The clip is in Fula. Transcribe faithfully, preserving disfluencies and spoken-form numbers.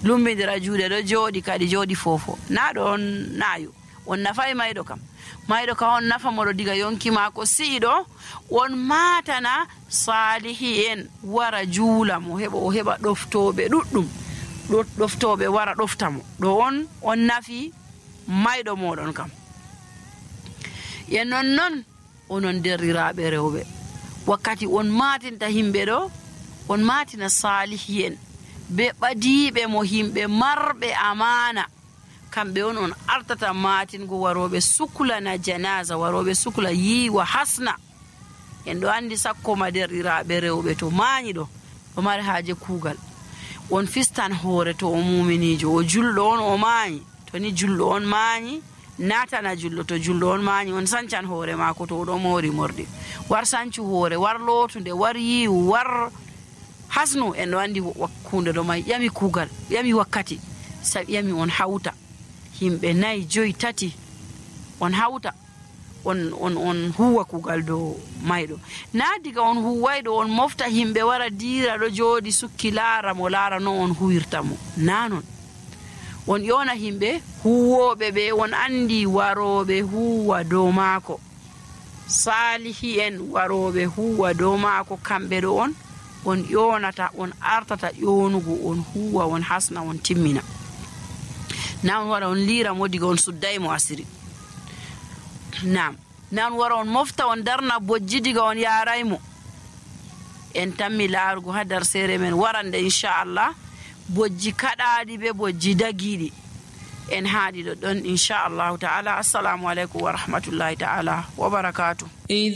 Lumbindira juuɗe ɗo jooɗi kadi jooɗi foofo. Na ɗo on naayo. On nafay mayɗo kam. Mayɗo ka on nafa moɗo diga yonki maako si'i ɗo, on maatana saalihi en wara juula mo, heɓa o heɓa ɗoftooɓe ɗuɗɗum. Ɗo-, ɗoftooɓe wara ɗofta mo. Ɗo on, on nafi mayɗo mooɗon kam. E non non, onon derɗiraaɓe rewɓe, wakkati on maatinta himɓe ɗo, on maatina saalihi en, be ɓadiiɓe mo himɓe marɓe amaana. Kamɓe on on artata maatingo warooɓe suklana janaaza, warooɓe sukla yiiwa hasna. En ɗo anndi sakko ma derɗiraaɓe rewɓe to maañi ɗo, ɗo mari haaje kuugal. On fistan hoore to o muuminiijo, o julɗo on o maañi. To ni julɗo on maañi, naatana julɗo. To julɗo on maañi, on sancan hoore maako to o ɗo moori morɗi. War sancu hoore, war lootunde, war yiiwu, war hasnu. En ɗo anndi wa-, wa-, huunde ɗo may, ƴami kuugal, ƴami wakkati, sa ƴami on hawta. Yimɓe nayi, joyi, tati, on hawta, on, on, on huuwa kuugal dow mayɗo. Na diga on huuwayɗo, on mofta yimɓe wara diira ɗo jooɗi sukki laara mo, laara no on huwirta mo. Na non. On ƴoona yimɓe huuwooɓe ɓe on anndi warooɓe huuwa dow maako. Saalihi en warooɓe huuwa dow maako, kamɓe ɗo on, on ƴoonata, on artata ƴoonugo, on huuwa, on hasna, on timmina. Na on wara on liira mo diga on sudday mo asiri. Naam. Na on wara on mofta, on darna bojji diga on yaaray mo. En tammi laarugo haa darseere men warande, inchallah. Bojji kaɗaaɗi be bojji dagiiɗi. En haaɗi ɗo ɗon, inchallahu ta'ala. Assalamu aleykum wa rahmatullahi ta'ala wa barakaatu.